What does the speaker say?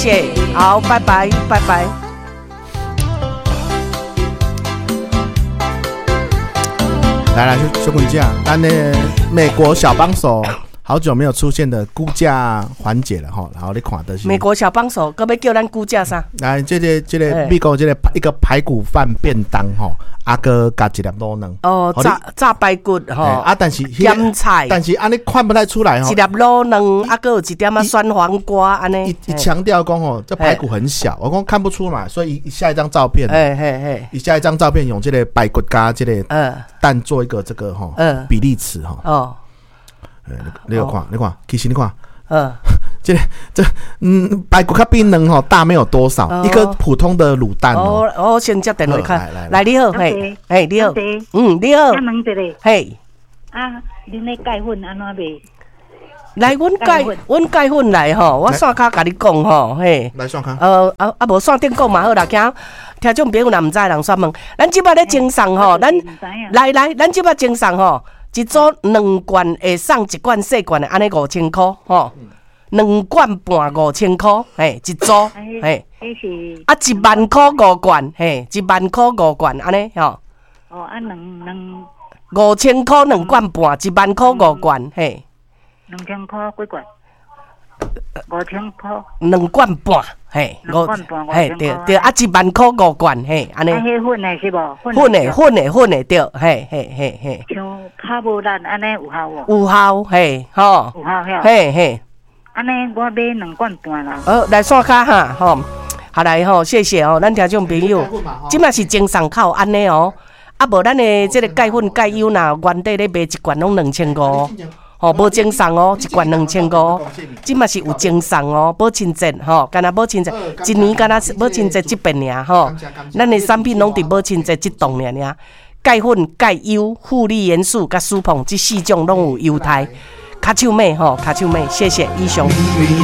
謝，好，拜拜，拜拜。來來，小滾姐，咱的美國小幫手好久沒有出現的估價環節了吼，然後你看的是美國小幫手，閣欲叫咱估價啥？來，這個美國這個一個排骨飯便當吼，啊閣加一粒滷卵。哦，炸排骨吼。啊，但是鹹菜，但是按呢看不太出來吼。一粒滷卵，啊，閣有一點仔酸黃瓜按呢。伊強調講吼，這排骨很小，我講看不出來，所以下一張照片，伊下一張照片用這個排骨加這個蛋做一個這個吼比例尺吼。哦。你有看，你看，其實你看，這排骨較比卵吼大沒有多少，一個普通的滷蛋哦。哦，先接電話看，來你好，嘿，嘿你好，你好，嘿，啊，恁咧鈣粉按怎賣？來，阮鈣粉來吼，我線跤共你講吼，嘿。來線跤。啊無線頂講嘛好啦，驚聽眾朋友若毋知，人煞問。咱這擺咧贈送吼，咱來來，咱這擺贈送吼。一組兩罐會送一罐細罐的，按呢5000箍吼，兩罐半5000箍，嘿，一組，嘿，啊1萬箍五罐，嘿，1萬箍五罐，按呢吼。哦，啊兩兩。5000箍兩罐半，1萬箍五罐，嘿。2000箍幾罐？5000箍。兩罐半，嘿，兩罐半，嘿，對對，啊，1萬箍五罐，嘿，按呢。啊，彼粉的是無？粉的，粉的，粉的，對，嘿，嘿，嘿，嘿。像較無力按呢有效無？有效，嘿，吼。有效遐。嘿嘿。按呢，我買兩罐半啦。好，來線跤哈，吼，好來吼，謝謝哦，咱聽眾朋友，這馬是贈送口按呢哦，啊無咱的這個鈣粉鈣油若原底咧賣一罐攏2500。吼，無贈送哦，一罐2500，這馬是有贈送哦，母親節吼，敢若母親節，一年敢若母親節這遍爾吼，咱的產品攏佇母親節這檔爾爾，鈣粉、鈣優、護理元素佮舒膨這四種攏有優待，跤手尾吼，跤手尾，謝謝以上。